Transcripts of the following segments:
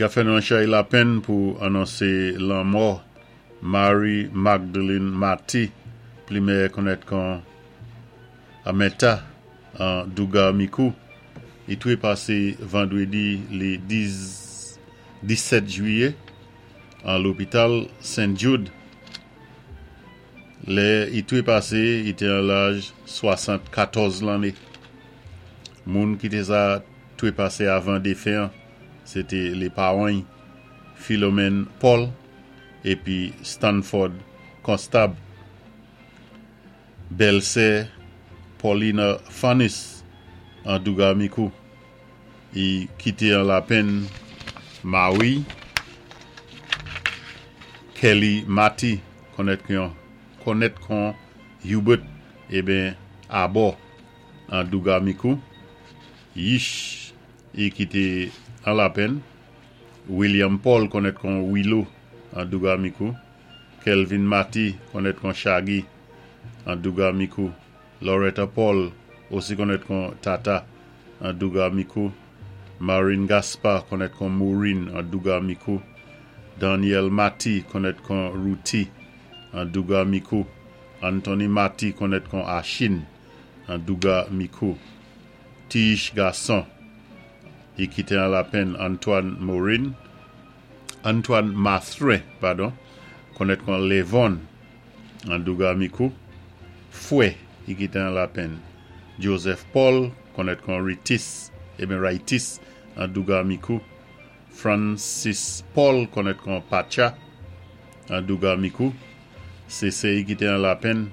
I ka fè nou an chay lapenn pou anonsé lanmò Marie Magdalene Mathy, pli mèyè konnèt kon Amèta an Dougar Mikou. I twépasé vandwédi lé 10 17 jwiyé an lopital Saint Jude. Lè i twépasé, i té an laj 74 lanné. Moun ki té sa twépasé avan défen an, sé té lé pawan-y, Philomène Paul épi Stanford Constable. Bèlsè Paulina Fanis an Dougar Mikou. I kité an lapenn mari Kelly Mathy konnèt kon konnèt kon Hubert eben Abò an Dougar Mikou. Yich i kité an lapenn William Paul konnèt kon Willow an Dougar Mikou. Kelvin Mathy konnèt kon Shaggy an Dougar Mikou. Loretta Paul osi konnèt kon Tata an Dougar Mikou. Marine Gaspard konnèt kon Maureen an Dougar Mikou. Daniel Mathy konnèt kon Ruthie an Dougar Mikou. Anthony Mathy konnèt kon Achine an Dougar Mikou. Tiish gason i kité an lapenn Antoine Morin, Antoine Mathurin, padon, konnèt kon Levon an Dougar Mikou. Fwè i kité an lapenn Joseph Paul konnèt kon Ritis, eben Raitis an Dougar Mikou. Francis Paul konnèt kon Pacha an Dougar Mikou. Sé sè i kité an lapenn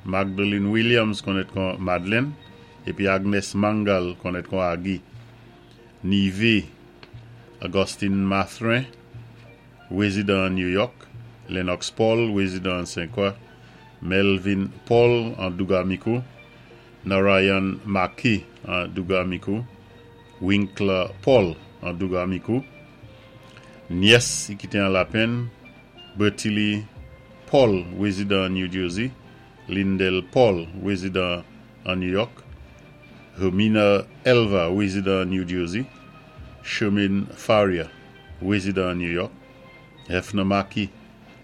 Magdalene Williams konnèt kon Madeleine épi Agnes Mangal konnèt kon Aggie. Nivé Augustine Mathurin, wézidan an New York, Lennox Paul, wézidan an Saint-Croix, Melvin Paul an Dougar Mikou, Narayan Maki an Dougar Mikou, Winkler Paul an Dougar Mikou, nyès i kité an lapenn, Bertilly Paul, wézidan an New Jersey, Lindell Paul, wézidan an New York, Hermina Elva, wézidan an New Jersey, Shermaine Faria, wézidan an New York, Hefner Maki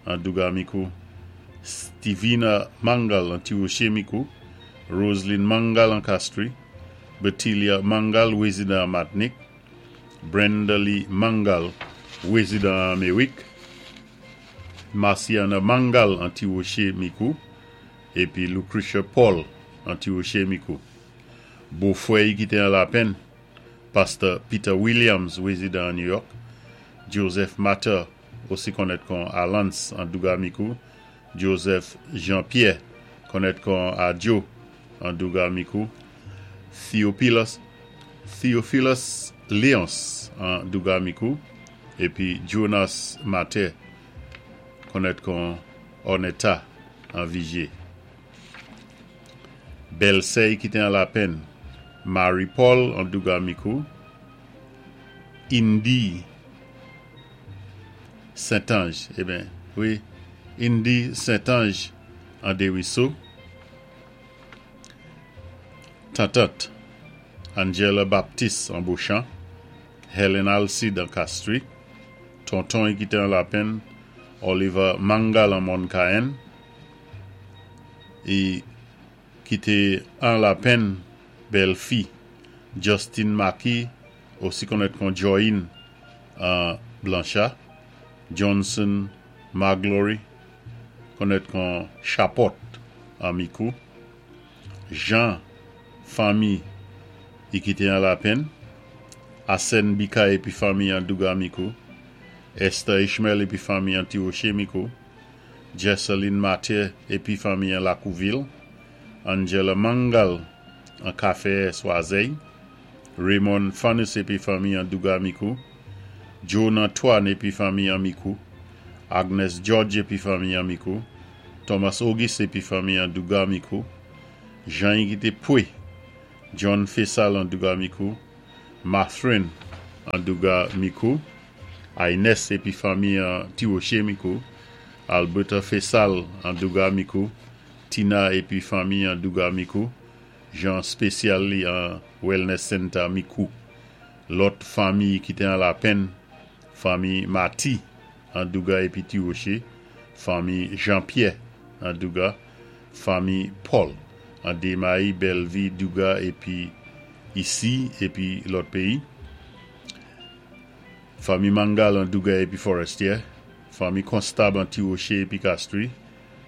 an Dougar Mikou, Stevina Mangal an Ti Woché Mikou, Roseline Mangal an Castries, Bertilia Mangal, wézidan an Matnik, Brenda Lee Mangal, wézidan an Améwik, Marciana Mangal an Ti Woché Mikou, épi Lucretia Paul an Ti Woché Mikou. Bofwè i kité an lapenn, Pastè Peter Williams, wézidan an New York, Joseph Matter, osi konnèt kon Alans an Dougar Mikou, Joseph Jean-Pierre, konnèt kon Adjo an Dougar Mikou, Theophilus Theophilus Léonce an Dougar Mikou, épi Jonas Matter, konnèt kon Ornetta an Vigier. Bèlsè i kité an lapenn, Marie Paul an Dougar Mikou, Indy Saint-Ange, eben, wi, Indy Saint-Ange an Desruisseaux, Tantant, Angela Baptiste an Beauchamp, Helen Alcide an Castries, Tonton i kité an lapenn, Oliver Mangal an Mòn Cayenne, i kité an lapenn bèlfi Justin Maki, osi konnèt kon Joyin an Blancha, Johnson Maglory, konnèt kon Chapòt an Mikou, Jean fanmi i kité an lapenn, Asèn Bika épi fanmi an Dougar Mikou, Esther Ishmael épi fanmi an Ti Woché Mikou, Jesseline Mathieu épi fanmi an Lakouvil, Angela Mangal an Kafèyè Swazèy, Raymond Fanus épi fanmi an Dougar Mikou, Joan Antoine épi fanmi an Mikou, Agnes George épi fanmi an Mikou, Thomas Auguste épi fanmi an Dougar Mikou, Jean i kité Pwé, John Fessal an Dougar Mikou, Mathurin an Dougar Mikou, Inès épi fanmi an Ti Woché Mikou, Alberta Fessal an Dougar Mikou, Tina épi fanmi an Dougar Mikou, Jean Spécial li an Wellness Center Mikou. Lòt fanmi ki té an lapenn, Fanmi Mati an Douga épi Ti Woché, fanmi Jean-Pierre an Douga, fanmi Paul an Démayi, Bèlvi, Douga épi isi épi lòt péyi, fanmi Mangal an Douga épi Fòrèstyè, fanmi Konstab an Ti Woché épi Kastri,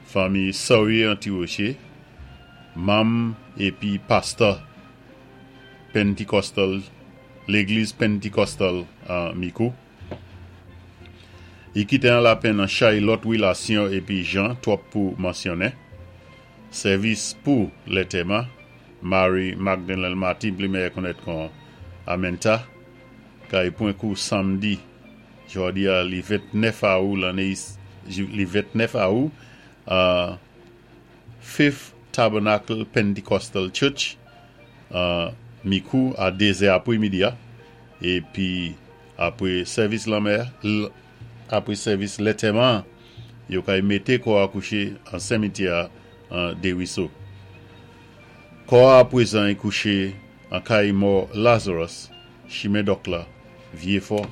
fanmi Sawye an Ti Woché, manm épi pastè Pentecostal, Légliz Pentecostal an Mikou. I kité an lapenn an chay lòt wilasyon épi jan twòp pou mansyonnen. Sèvis pou lentèman, Mary Magdalene Martin pli mèyè konnèt kon Amenta, kay pwan kou samdi jòdi a li 29 awou lanné li 29 awou an Faith Tabernacle Pentecostal Church an Mikou a 2 zè apwé midi a épi apwé sèvis lanmè apwé sèvis lentèman an yo kay mété kò a kouché an senmityè a an Deriso. Kò a apwézan i kouché an kay mò Lazarus, chimen Dòk la, Vyé Fò.